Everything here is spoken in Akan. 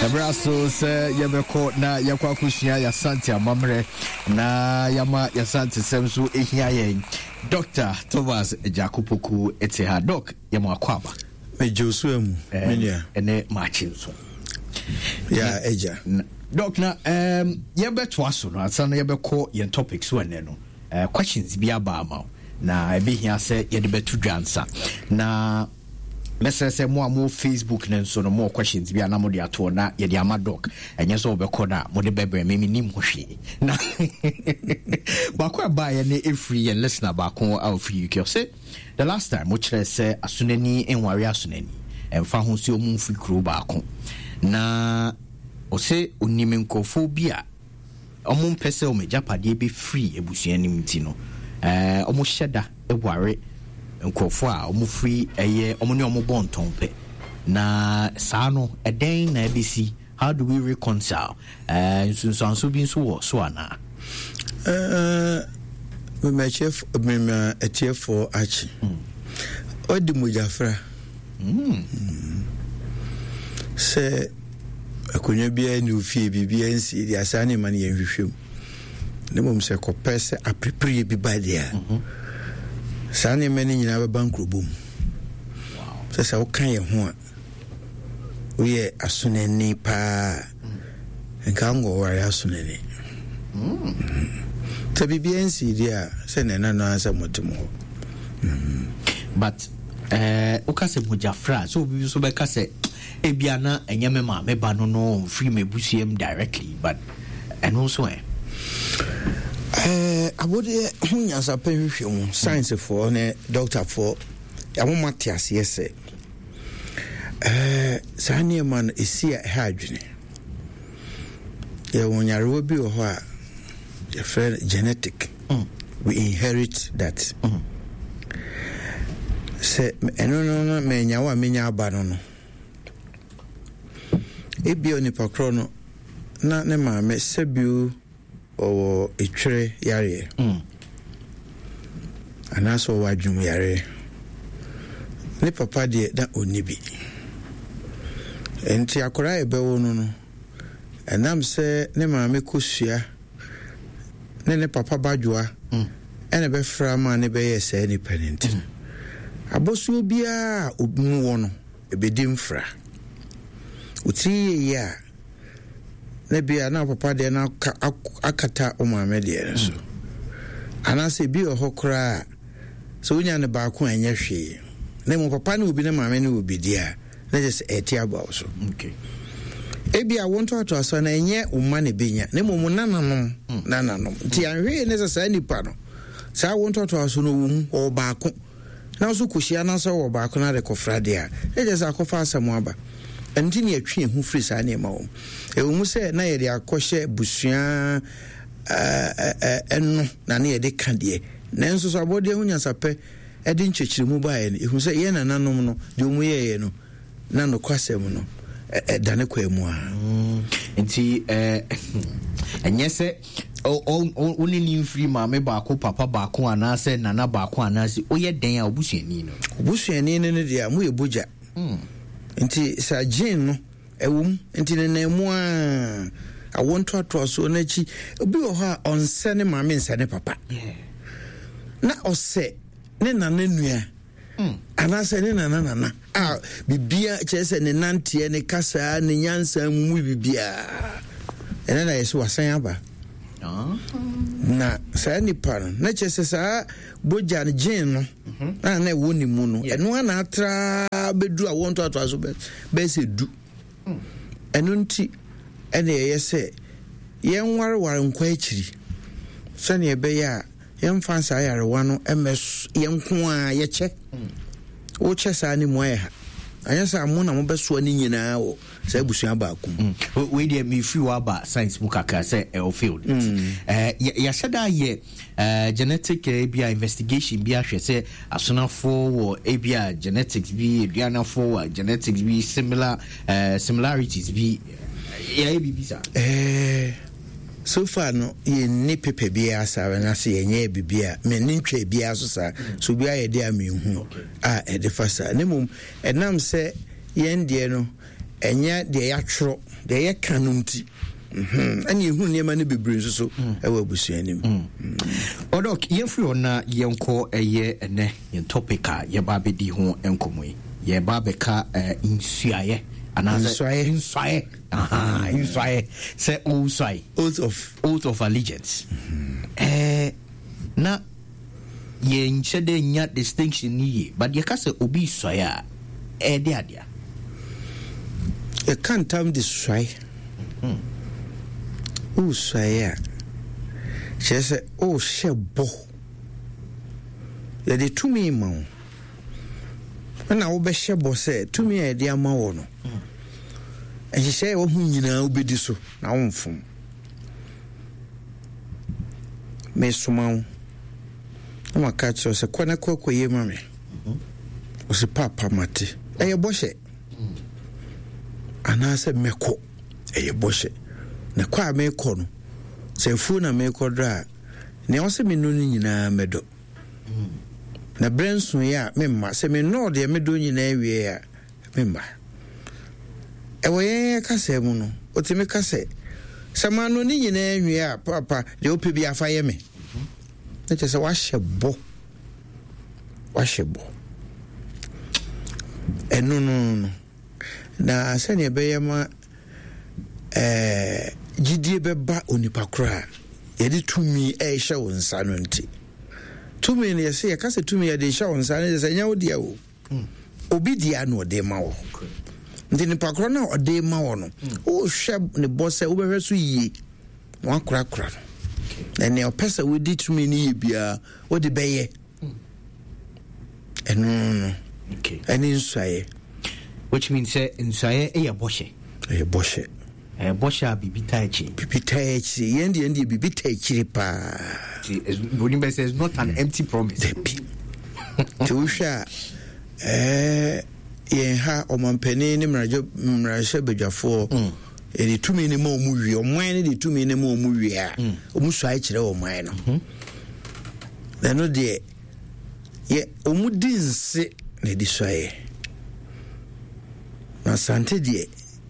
Ɛberɛ aso sɛ yɛbɛkɔ na yɛkɔ akɔsua yɛasante amammerɛ na yɛama yɛasante sɛm so ɛhia yɛn. Dr. Thomas Agyako Poku te ha. Doc, yɛma akɔ aba. Megye wo so amu, me nua. Ɛne maakye nso. Ya agya. Doc, na um, yɛbɛtoa so no ansa na yɛbɛkɔ yɛn topic so ɛnɛ no. Uh, questions bi aba ama wo na ɛbɛhia sɛ yɛde bɛto dwa nsa na mɛsrɛ sɛ mo a mo facebook no nso no mo questions bi a na mode atoɔ na yɛde ama doc ɛnyɛ sɛ wɔbɛkɔ no a mode bɛbrɛ me menim ho hwee na baako a ɛbaeɛ ne ɛfiri yɛn listener baako a ɔfiri uk ɔsɛ the last time mokyerɛ sɛ asonani nware asonani ɛmfa ho sɛ ɔmu mfiri kuro baako na ɔsɛ onim nkurɔfoɔ bi a wɔmpɛ sɛ wɔn agyapadeɛ bɛfiri abusua no mu nti no, wɔhyɛ da ware nkurɔfoɔ a wɔfiri ɛyɛ wɔn ne wɔn bɔ ntɔn pɛ. Na saa no, ɛdɛn na ɛbɛsi? How do we reconcile? Nsunsuanso bi nso wɔ so anaa? Mema atiefoɔ akye. Ɔdi mogyafra. Sɛ akonnwa biara nni wo fie, biribiara nsi deɛ saa nneɛma no yɛnhwehwɛ mu. Na mmom sɛ kɔpɛ sɛ aperepereɛ bi ba deɛ a, mhm. saa nneɛma no nyinaa bɛba nkurobɔ mu. Sɛ sɛ woka yɛn ho a, woyɛ asonani paa nka nkɔware asonani. Mm. Sɛ biribiara nsi deɛ a, sɛ na ɛna no ara sɛ mote mo hɔ. Mm. But eh, woka sɛ mogyafra sɛ obi nso bɛka sɛ ebia na ɛnyɛ me maame ba no no mfiri m'abusua mu directly but ɛno nso ɛ eh, abodeɛ ho nyansapɛ hwehwɛ mu sciencefoɔ ne dɔktafoɔ yɛamoma te aseɛ sɛ eh, saa nneɛma no ɛsi a ɛha adwene yɛwɔ nyarewa bi wɔ hɔ a yɛfrɛ no genetic mm. we inherit that mm. Sɛ ɛno no no manya wo a menya aba no no ebia onipa korɔ no na ne maame sɛbio ɔwɔ etwerɛ yareɛ mm. anaasɛ ɔwɔ adwum yareɛ ne papa deɛ na ɔnni bi nti akwadaa a yɛbɛwo no no ɛnam sɛ ne maame kosua ne ne papa badwoa mm. ɛna ɛbɛfra maa ne bɛyɛɛ saa nipa no nti no mm. abɔsoɔ biara a mu wɔ no ɛbɛdi mfra wotiri yɛyɛ a na bia na papa deɛ no akata wo maame deɛ no so mm. anaasɛ ebi wɔ hɔ koraa sɛ wonya no baako a ɛnyɛ hwee na mmom papa ne obi ne maame ne obi deɛ a na kyerɛ sɛ ɛte aba wo so. Ebia wo ntoatoasoɔ no ɛnyɛ wo mma na ɛbɛnya na mmom wo nananom hmm. nananom. Nti anhwee ne sɛ saa nipa no saa wo ntoatoasoɔ no wɔ mu ɔwɔ baako na nso kɔhyia na sɛ ɔwɔ baako no ade kɔfra deɛ a na kyerɛ sɛ akɔfa asɛm aba. Ɛno nti ne yɛtwe yɛn ho firi saa nneɛma wɔ mu. Ɛwɔ mu sɛ na yɛde akɔhyɛ busua ɛno na ne yɛde ka deɛ nanso so abɔdeɛ ho nyansapɛ de nkyerɛkyerɛmu baeɛ no, yɛhu sɛ yɛn nananom no, deɛ wɔn yɛeɛ no, na nokwasɛm no ɛda ne kwan mu a. Mm, nti ɛnyɛ sɛ wo ne ne mfiri maame baako papa baako anaasɛ nana baako anaasɛ woyɛ dɛn a obusuani no obusuani no no deɛ a moyɛ bogya mm. nti sɛ gyen no ɛwɔ mu nti ne nan mu a awo ntoatoasoɔ no akyi obi wɔ hɔ a ɔnsɛ ne maame nsɛ ne papa na ɔsɛ ne nana nua hmm. anaasɛ ne nana nana a bibia kyerɛ sɛ ne nanteɛ ne kasaa ne nyansa mu mu bibiaa ɛnɛ na yɛsɛ wasan aba ah. na saa nipa no na kyerɛ sɛ saa bogya no gyen no mhm. a na ɛwɔ ne mu no ɛno a na atra bɛduru a wɔntoatoa so bɛyɛ sɛ du hmm. ɛno nti ɛna ɛyɛ sɛ yɛnwareware nkɔ akyiri sɛnea ɛbɛyɛ a yɛmfa saa yarewa no mmɛ yɛn nko a yɛkyɛ hmm. wokyɛ saa ne mu ayɛ ha anyɛ sɛ mo na mobɛsoa ne nyinaa wɔ saa abusua baako mu hmm. wei deɛ mefiri wɔ aba science mu kakra sɛ ɛwɔ field hmm. eh, yɛahyɛ da yɛ eh, genetic eh, bi a investigation bi ahwɛ sɛ asonafoɔ wɔ ebi a genetics bi aduanafoɔ wɔ genetics bi similar similarities bi yɛayɛ biribi saa so far no yɛnni paper biara saa anaasɛ yɛnyɛɛ biribi a menni ntwaa biara so saa so obi ayɛ deɛ a menhu a ɛde fa saa na mmom ɛnam sɛ yɛn deɛ no Ɛnyɛ deɛ yɛatwerɛ, deɛ yɛka no nti. Mhm. Ɛne yɛhunu nneɛma no bebree nso so mm. ɛwɔ abusua no mu. Mm. Ɔdɔk, yɛmfiri hɔ na yɛnkɔ ɛyɛ ɛnɛ yɛn topic a yɛba abɛdi ho nkɔmmɔ yi. Yɛba abɛka eh, nsuaeɛ anaasɛ nsuaeɛ nsuaeɛ nsuaeɛ sɛ ɔresuae. Oath of oath of allegiance. Mm-hmm. Eh, na yɛnhyɛ dɛ nya distinction no yie but yɛka sɛ obi suae a ɛyɛ adea. Yɛka ntam de suae. Hmm. Wosuae a, kyerɛ sɛ wohyɛ bɔ. Yɛde tumi ma wo. Ɛna wobɛhyɛ bɔ sɛ tumi a yɛde ama wɔ no, hmm. nhyehyɛe a ɛwɔ ho nyinaa wobɛdi so na womfom. Mesoma wo na maka akyerɛ wo sɛ kɔ na kɔ akɔyie ma me. Ɔse paapa mate. Ɛyɛ bɔhyɛ. Anaasɛ mɛkɔ. Ɛyɛ bɔhyɛ. Na kɔ a mekɔ no, sɛ afuo na mekɔdɔ a, nea ɔsɛ menɔ no nyinaa mɛdɔ. Na berɛ nsoeɛ a memma. Sɛ menɔɔ deɛ medɔ nyinaa wie a, Me mma, ɛwɔ yɛn yɛn kasa mu no, otumi ka sɛ, sɛ mano ne nyinaa nwie a, papa, deɛ wopɛ bi afa yɛ me. Na kyerɛ sɛ wahyɛ bɔ. Wahyɛ bɔ. Ɛno no no. Na sɛnea ɛbɛyɛ ma ɛɛ gyidie bɛba onipa koro a yɛde tumi ɛrehyɛ wo nsa no nti. Tumi no yɛsɛ yɛka sɛ tumi yɛde hyɛ wo nsa no yɛ sɛ ɛnyɛ wo deɛ o. Obi dea na ɔde ma wɔ. Nti nipa korɔ no a ɔde ma wɔ no, wohwɛ ne bɔ sɛ wobɛhwɛ so yie na wakorakora no. Na nea ɔpɛ sɛ wodi tumi no yɛ biara, wode bɛyɛ. Ɛno no, ɛne nsuaeɛ. Which means sɛ nsuaeɛ yɛ bɔhyɛ. Ɛyɛ bɔhyɛ. Ɛyɛ bɔhyɛ a biribi taa akyiri. Biribi taa akyiri. Yɛn deɛ deɛ biribi taa akyiri paa. Broni bɛ sɛ it's not an empty promise. Dabi. Nti wohwɛ a ɛɛ yɛn ha ɔmampanin ne mmarahyɛ badwafoɔ mm. yɛde tumi no ma ɔmu wie ɔman no de tumi no ma ɔmu wie a mm. ɔmu suae kyerɛ ɔman no mm-hmm. na ɛno deɛ yɛ ɔmu di nse na ɛde suaeɛ na asante deɛ.